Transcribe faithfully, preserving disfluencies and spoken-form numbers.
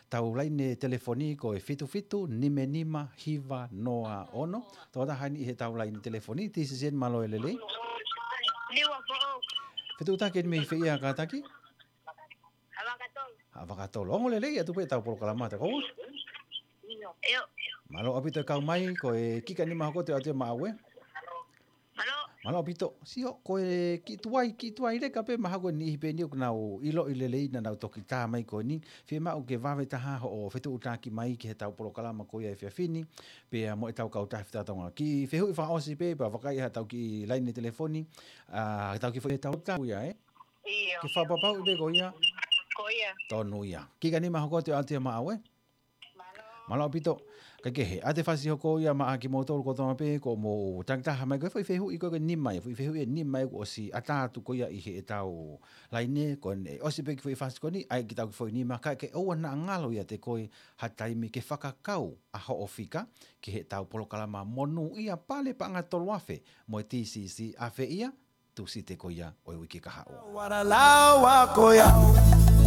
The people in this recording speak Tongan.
Tau laine telefoni ko e fitu fitu nima nima hiva noa ono. Tau taha ni he tau laine telefoni, T C C N, mālō e lelei. Fetuʻutaki eni mei fē ia kātaki? Haʻavakatolo. Ongo lelei atu pē tau polokalama te kau. Mālō ʻaupito e kau mai, ko e kika nima hoko te ʻoatu ia maʻau ē. Mālō. Mālō ʻaupito. Sio, ko e kiʻi tuai, kiʻi tuai leka pē mahalo ko e niʻihi pē eni ʻoku nau ʻiloʻi lelei naʻa nau toki tā mai ko eni. Fiemaʻu ke vave taha hoʻo fetuʻutaki mai ki he tau polokalama ko ia efiafi ni. Pea mo e tau kautaha Fita Tonga. Kiʻi fehuʻi fakaʻosi pē, pea vakai ha tau kiʻi laine telefoni. ʻA, tau kiʻi foʻi tau tau ia, ē? Ke fakapapauʻi pē ko ia. Ko ia. Tonu ia. Kika nima hoko te ʻoatu ia maʻau ē. Mālō ʻaupito. Kae kehe, ʻa e fasi hoko ia maʻa kimoutolu kotoa pē, ko mou takitaha mai ko e foʻi fehuʻi ko e nima ia, foʻi fehuʻi e nima ia kuo ʻosi ʻatā atu ko ia ʻi he tau laine, ko ʻene ʻosi pē kiʻi foʻi fasi ko eni, ʻai kiʻi tau kiʻi foʻi nima, kae ke ʻoua naʻa ngalo ia te koe ha taimi ke fakakau ʻa hoʻo fika ki he tau polokalama monūʻia Pale Paʻanga Tolu Afe mo e T C C Afe ia, Tūsite ko ia ʻo e uike kahaʻu. What a lawa ko ia.